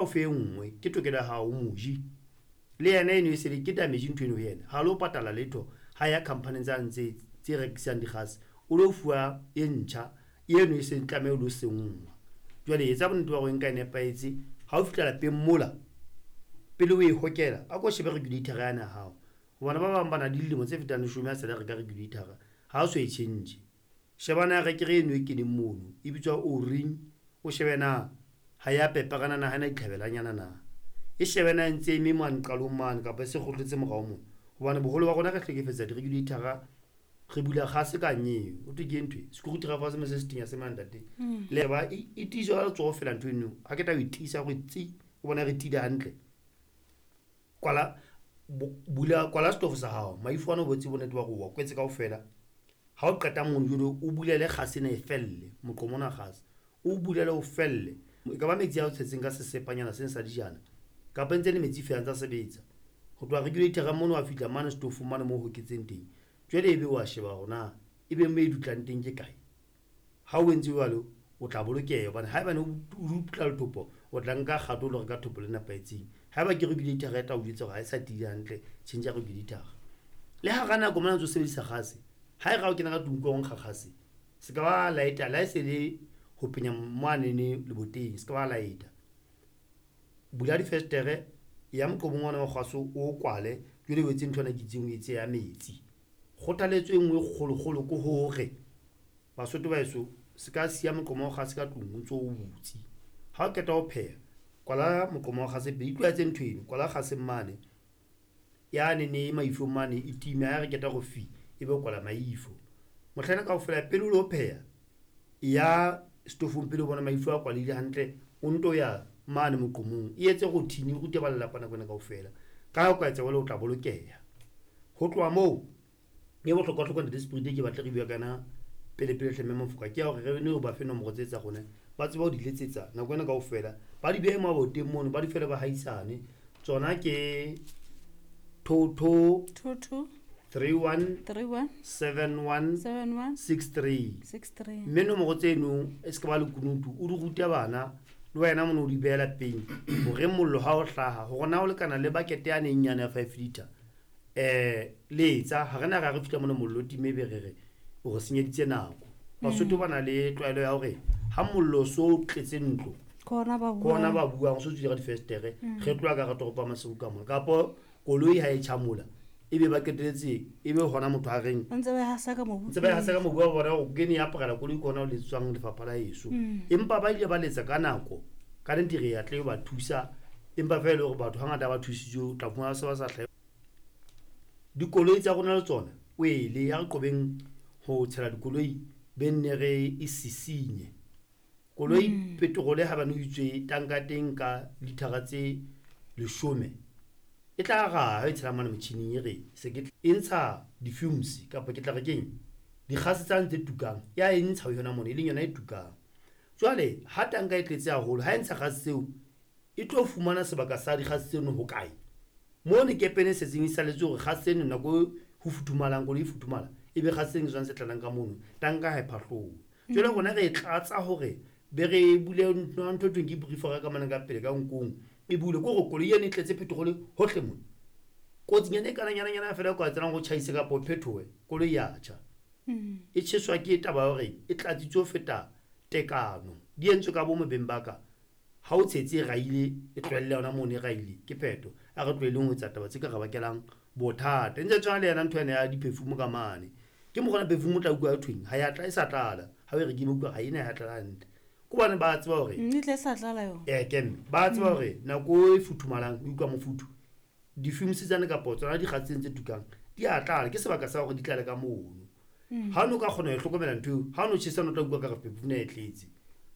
O fe e nngwe, ke tokelo ya hao, o moji. Le yena eno e se le ke damage ntho eno ho yena. Ha lo patala letho ha ya company tsane tse tse rekisang dikgase. O lo fuwa e ntjha eno e seng tlameha o lo senngwa. Jwale etsa bonnete ba hore nka e nepahetse. Ha o fihla lapeng mola pele o e hokela, a ko shebe regulator yane ya hao. Hobane ba bang ba na le dilemo tse fetang leshome a sale reka regulator, ha o so e change. Sheba na rekere eno e keneng mono e bitswa O-ring, o shebe na ha ya peperana na ha ena ditlhabelanyana na. E shebe na e ntse eme mane qalong mane kapa e se kgohletse morao mona. Hobane boholo ba rona re hlekefetsa di-regulator-a, re bula kgase ka nyeo. Ho thwe ke ntho e, screwdriver se se setenya se mane ntate. Le ba e tiiswa ka letsoho fela ntho eno. Ha ke tla o e tiisa hore tsi, o bona re tiile hantle. Kwala bula kwala setofo sa hao. Maifo ana o botse bonnete ba hore o wa kwetse kaofela. Ha o qeta mono jwale o bulele kgase ena e felle, moqomo ona kgase. O bulele o felle. E ka ba metsi a o tshetseng ka sesepanyana seng sa dijana kapa ntse le metsi feela ntsa sebetsa. Ho tloha regulator mono wa fihla mane setofong mane moo hoketseng teng. Jwale ebe wa sheba hore na ebe mo e dutlang teng ke kae. Ha o entse jwalo o tla bolokeha hobane haebane o dutla lethopo o tla nka kgato o lo reka thopo le nepahetseng. Haeba ke regulator e tla o jwetsa hore ha e sa tiile hantle, change regulator. Le hara nako mona ntso sebedisa kgase, ha e ra o kena ka tlung ko nkga kgase, se ka ba lighter la e se le ho penya moanene leboteng, se ka ba lighter. Bula difestere ya moqomong ona wa kgase o kwale, jwale o etse ntho ena ke itseng o etse ya metsi. Kgothaletso e nngwe e kgolokgolo ke hore Basotho ba heso se ka siya moqomo wa kgase ka tlung o ntso o butse. Ha o qeta ho pheha, kwala moqomo wa kgase pele, itlwaetse ntho eno, kwala kgase mane. Yane ne maifong mane e time ha re qeta go fi e be kwala maifo. Mohlaena kaofela pele o lo pheha ya setofong pele o bona maifo a kwalehile hantle, o nto ya mane moqomong. E etse routine, o rute ba lelapa nako ena kaofela. Ka ha o ka etsa jwalo o tla bolokeha. Ho tloha moo e bohlokwa-hlokwa ntate Spirit ke batle re bua kana pele pele hle mme Mofoka ke ya hore re ne ba fe nomoro tse tsa rona ba tsebe ho di letsetsa nako ena kaofela ba di behe maboteng mono ba di fele ba haisane tsona ke 22 22 31 31 71 71 63 63. Mme nomoro tseno e se ka ba lekunutu o di rute bana le wena mono o di behela peng hore mollo ha o hlaha hore na o lekana le bakete yane e nyane ya 5 liter letsa ha re na ra re fihla mona mollo o time be re re o re senyeditse nako. Basotho ba na le tlwaelo ya hore ha mollo so o tletse ntlo Ke hona ba ke hona buang. ba buang so tswile ka difestere re tloha ka hara toropo ya Maseru ka mona kapo koloi ha e tjha mola ebe ba qeteletse ebe hona motho a reng Ba ntse ba e hasa ka mobu ntse ba e hasa ka mobu wa bona hore ke ne ya aparela koloi ke hona ho letswang lefapha la heso. Empa ba ile ba letsa ka nako ka nnete re ya tle ba thusa empa feela e le hore batho hangata ba thusitswe o tla fumana se ba sa hlahe. Dikoloi tsa rona le tsona wele ha re qobeng ho tshela dikoloi be nne re e sisinye. Koloi petrol ha bane o itswe tanka teng ka lithara tse 10 e tla raha ha e tshela mane motjhining e re se ke e ntsha di-fumes kapa ke tla re keng dikgase tsane tse tukang ya e ntsha ho yona mona e leng yona e tukang. Jwale ha tanka e tletse haholo ha e ntsha kgase tseo e tlo fumana sebaka sa dikgase tseno hokae? Mo ne kepene e setseng e saletse hore kgase tseno nako ho futhumalang koloi e futhumala ebe kgase tseno ke tsona tse tlalang ka mono tanka ha e phahlohe. Jwale rona re e tlatsa hore be re bule ntho e thweng ke briefer ka mane ka pele ka nkong e bule ke hore koloi eno e tletse petrol hohle mona. Kotsinyana e kananyana fela e ka etsahalang hore o tjhaise kapa o phethohe koloi ya tjha. E tjheswa ke taba ya hore e tlatsitswe ho feta tekano. Di entswe ka bomo beng ba ka. Ha o tshetse e raile e tlohelle yona mono e raile ke phetho. A re tlohelleng ho etsa taba tse ka re bakelang bothata. E ntse tshwana le yena ntho ena ya di-perfume ka mane. Ke mokgwa perfume o tla utlwa ho thweng ha ya tla e sa tlala. Ha o e rekile utlwa ha ena ha ya tlala hantle. Ke hobane ba tseba hore E tle e sa tlala yona. Ke mme ba tseba hore nako e futhumalang o utlwa mofuthu di-fumes tsane kapa tsona dikgase tseno tse tukang di a tlala ke sebaka sa hore di tlale ka mono. Ha o no ka kgona ho hlokomela ntho eo ha o no tjhesa o tla utlwa ka re perfume e tletse.